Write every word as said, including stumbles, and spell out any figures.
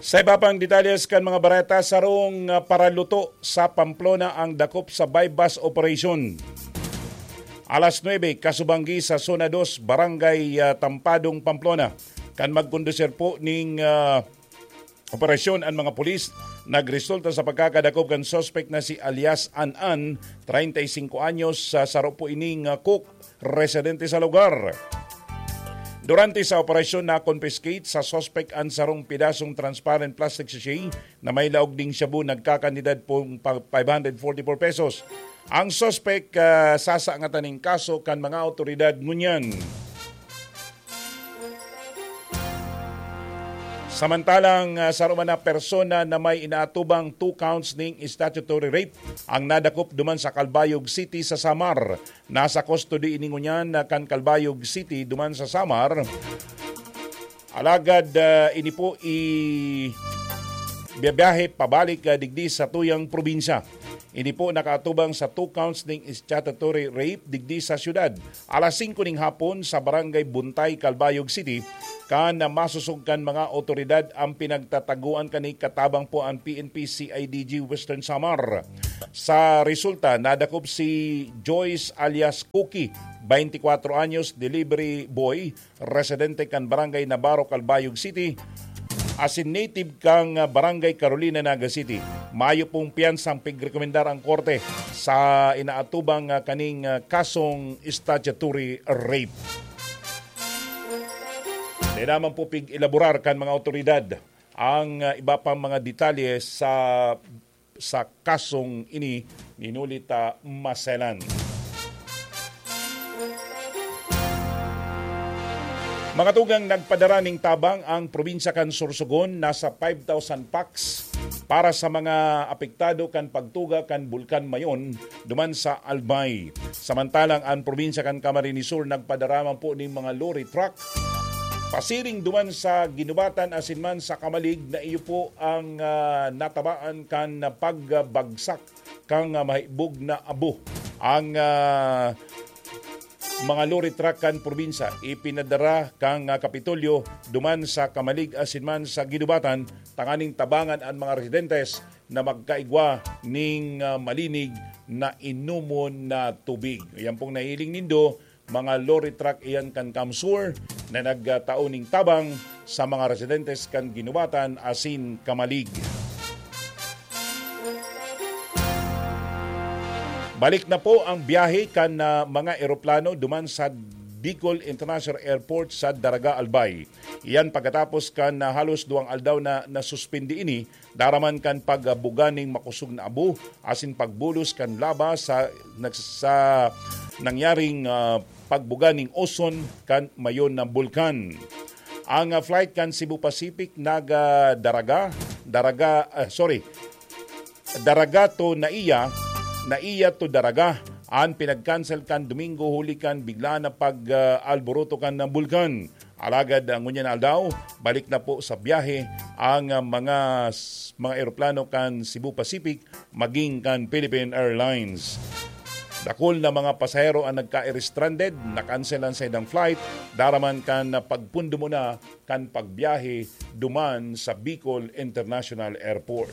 Sa iba pang detalles kan mga bareta, sarong, ah, paraluto sa Pamplona ang dakop sa buy-bust operation. Alas nuebe, kasubanggi sa Zona dos, Barangay, ah, Tampadong, Pamplona. Kan magkondusir po ning, ah, operasyon an mga pulis, nagresulta sa pagkakadakop kan suspek na si alias An-an, treinta y cinco anyos, sa saro po ining, ah, cook, residente sa lugar. Durante sa operasyon, na-confiscate sa suspek an sarong pidasong transparent plastic sachet na may laog ning shabu, nagkakantidad pong pa-, five hundred forty-four pesos. Ang suspek, ah, sasangatan ning kaso kan mga awtoridad ngunyan. Samantalang, ah, saro man na persona na may inaatubang two counts ning statutory rape ang nadakop duman sa Calbayog City sa Samar. Nasa custody ini ngunyan na kan Calbayog City duman sa Samar. Alagad, ah, ini po i-, biyabiyahe pabalik, ah, digdi sa tuyang probinsya. Ini po nakaatubang sa two counts ning statutory rape digdi sa syudad. Alas singko ning hapon sa Barangay Buntay, Calbayog City, kan masusog kan mga awtoridad ang pinagtataguan kani, katabang po ang P N P C I D G Western Samar. Sa resulta, nadakop si Joyce alias Cookie, twenty-four anyos, delivery boy, residente kan Barangay Navarro, Calbayog City, asin native kan, ah, Barangay Carolina, Naga City. Mayo pong piyansa ang pigrekomendar ang korte sa inaatubang, ah, kaning, ah, kasong statutory rape. Di naman po pig-elaborar kan mga awtoridad ang, ah, iba pang mga detalye sa, sa kasong ini ni Nolita Maselan. Mga tugang, nagpadara ning tabang ang probinsya kan Sorsogon, nasa five thousand packs para sa mga apektado kan pagtuga kan Bulkan Mayon duman sa Albay. Samantalang an probinsya kan Camarines Sur nagpadara man po ning mga lorry truck pasiring duman sa Guinobatan asin man sa Camalig na iyo po ang, ah, natabaan kan pagbagsak kan, ah, mahibog na abo. Ang, ah, mga lorry truck kan probinsya ipinadara kan, ah, Kapitolyo duman sa Camalig asin man sa Guinobatan tanganing tabangan an mga residentes na magkaigwa ning, ah, malinig na inomon na tubig. Yan pong nahiling nindo, mga lorry truck iyan kan CamSur na nagtao ning tabang sa mga residentes kan Guinobatan asin Camalig. Balik na po ang biyahe kan, ah, mga eroplano duman sa Bicol International Airport sa Daraga, Albay. Iyan pagkatapos kan, ah, halos duwang aldaw na nasuspindi ini, daraman kan pagbuga ning makosog na abo asin pagbulos kan laba sa, nag-, sa nangyaring, ah, pagbuga ning Oson kan Mayon na bulkan. Ang, ah, flight kan Cebu Pacific naga Daraga, Daraga, ah, sorry, Daraga to Naia, Naia to Daraga, an pinag-cancel kan Domingo huli kan bigla na pag, ah, alboroto kan bulkan. Alagad, ah, ngunyan na aldaw, balik na po sa biyahe ang, ah, mga s-, mga eroplano kan Cebu Pacific maging kan Philippine Airlines. Dakul na mga pasahero ang nagka-stranded, na-cancel an saindang flight, daraman kan pagpundumuna kan pagbiyahe duman sa Bicol International Airport.